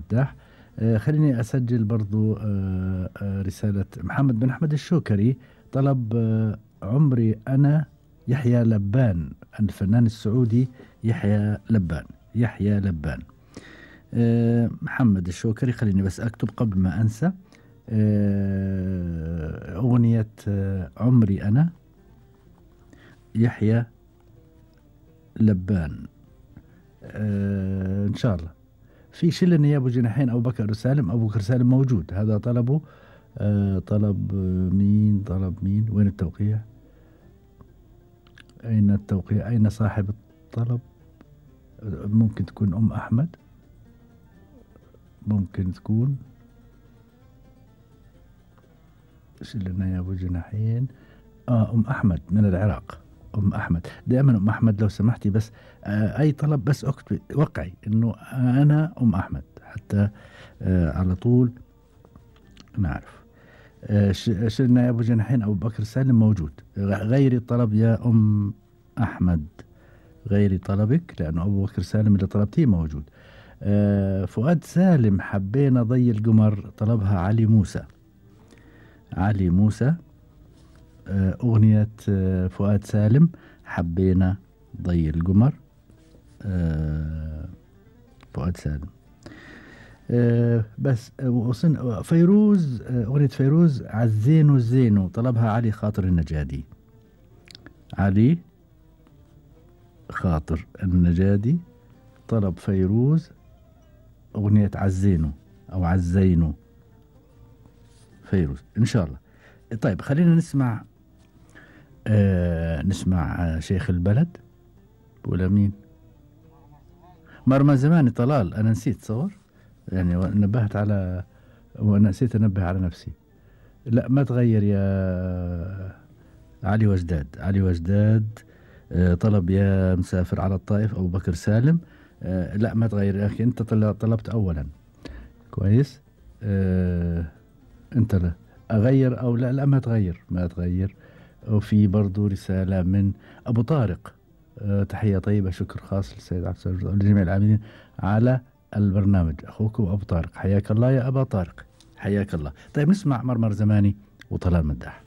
مداح. خليني أسجل برضو رسالة محمد بن أحمد الشوكري، طلب عمري أنا يحيى لبان، الفنان السعودي يحيى لبان. يحيى لبان. محمد الشوكري، خليني بس أكتب قبل ما أنسى. أغنية عمري أنا يحيى لبان. إن شاء الله. في شلني يا أبو جناحين أبو بكر سالم. أبو بكر سالم موجود، هذا طلبه. طلب مين؟ طلب مين؟ وين التوقيع؟ أين التوقيع؟ أين صاحب الطلب؟ ممكن تكون أم أحمد، ممكن تكون شلنا يا أبو جناحين. أم أحمد من العراق. أم أحمد، دائما أم أحمد لو سمحتي بس أي طلب بس أكتب وقعي إنه أنا أم أحمد حتى على طول نعرف. شلنا يا أبو جناحين أبو بكر سالم موجود. غيري الطلب يا أم أحمد، غيري طلبك لأنه أبو بكر سالم اللي طلبتيه موجود. فؤاد سالم حبينا ضي القمر، طلبها علي موسى. علي موسى. أغنية فؤاد سالم حبينا ضي القمر. فؤاد سالم. بس فيروز، أغنية فيروز عالزينو الزينو، طلبها علي خاطر النجادي. علي خاطر النجادي طلب فيروز أغنية عالزينو أو عالزينو. فيروز إن شاء الله. طيب خلينا نسمع نسمع شيخ البلد ولا مين؟ مرمى زماني طلال. أنا نسيت صور يعني، نبهت على وأنا نسيت أنبه على نفسي. لا ما تغير يا علي وجداد. علي وجداد طلب يا مسافر على الطائف أبو بكر سالم. لا ما تغير يا أخي، أنت طلبت أولا. كويس. أنت لا أغير أو لا؟ لا ما تغير، ما تغير. وفي برضو رسالة من أبو طارق. تحية طيبة، شكر خاص للسيد عبد السلام ولجميع العاملين على البرنامج. أخوكم أبو طارق، حياك الله يا أبا طارق، حياك الله. طيب نسمع مرمر زماني وطلال مداح.